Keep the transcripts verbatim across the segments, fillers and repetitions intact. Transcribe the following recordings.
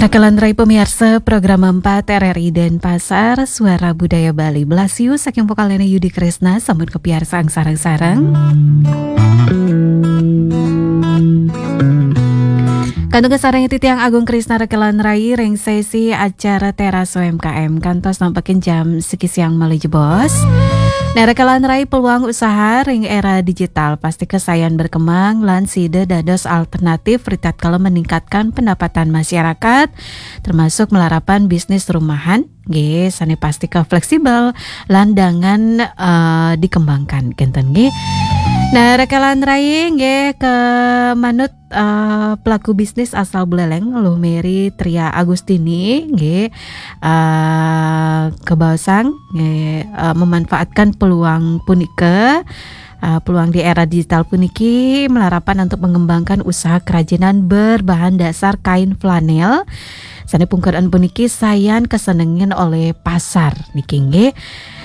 Rakelan rai pamiarsa program empat R R I Denpasar, Suara Budaya Bali. Blasius saking vokalnya Yudi Kresna, sambut ka piarsaan sareng-sareng. Kantun kasareng titiang Agung Krisna rakelan rai ring sesi acara Teras U M K M kantos nampekin jam siki siang malih jebos. Nah, rakelan rai, peluang usaha ring era digital pasti kasayan berkembang lan sida dados alternatif ritatkala meningkatkan pendapatan masyarakat, termasuk malarapan bisnis rumahan, nggih, sane pastika fleksibel lan dangan, eh, dikembangkan, kenten nggih. Nah, rakelan rai nggih, ke manut, eh, pelaku bisnis asal Buleleng, Luh Mary Tria Agustini nggih, eh, kebaosang nggih, eh, memanfaatkan peluang punika, eh, peluang di era digital puniki malarapan untuk mengembangkan usaha kerajinan berbahan dasar kain flanel. Sane pungkaran puniki sayan kasenengin olih pasar niki nggih.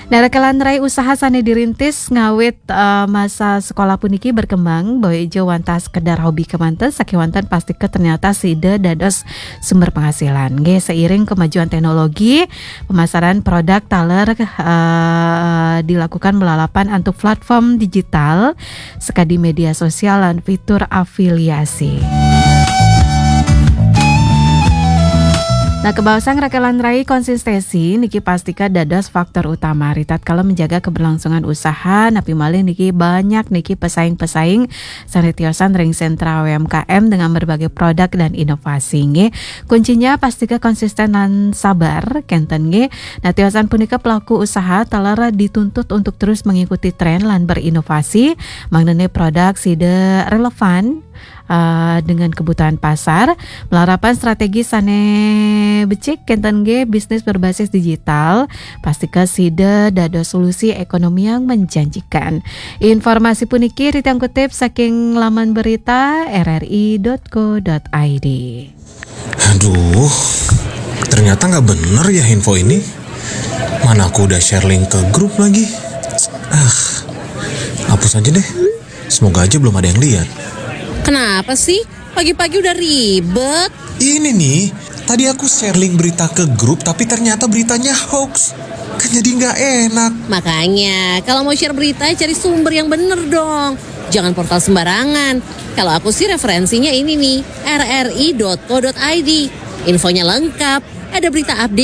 Nah, rakelan rai, usaha sane dirintis ngawit, eh, masa sekolah puniki berkembang, boya ja wantah sekedar hobi kemanten, sakewanten pastika ternyata sida dados sumber penghasilan. Nggih, seiring kemajuan teknologi, pemasaran produk taler, eh, dilakukan malarapan antuk platform digital, sekadi media sosial lan fitur afiliasi. Nah, kebaosang rakelan rai, konsistensi niki pastika dados faktor utama ritatkala menjaga keberlangsungan usaha, napi malih niki banyak niki pesaing-pesaing sane tiosan ring sentra U M K M dengan berbagai produk dan inovasi nggih. Kuncinya pastika konsisten lan sabar, kenten nggih. Nah, tiosan punika pelaku usaha taler dituntut untuk terus mengikuti tren lan berinovasi, mangdane produk sida relevan, eh, dengan kebutuhan pasar, malarapan strategi sane becik, kenten nggih, bisnis berbasis digital, pastika sida dados solusi ekonomi yang menjanjikan. Informasi puniki titiang kutip saking laman berita R R I dot co dot I D. Aduh, ternyata nggak bener ya info ini. Mana aku udah share link ke grup lagi. Ah, hapus aja deh. Semoga aja belum ada yang lihat. Kenapa sih? Pagi-pagi udah ribet. Ini nih, tadi aku share link berita ke grup, tapi ternyata beritanya hoax. Kan jadi nggak enak. Makanya, kalau mau share berita, cari sumber yang bener dong. Jangan portal sembarangan. Kalau aku sih, referensinya ini nih, R R I dot co dot I D. Infonya lengkap, ada berita update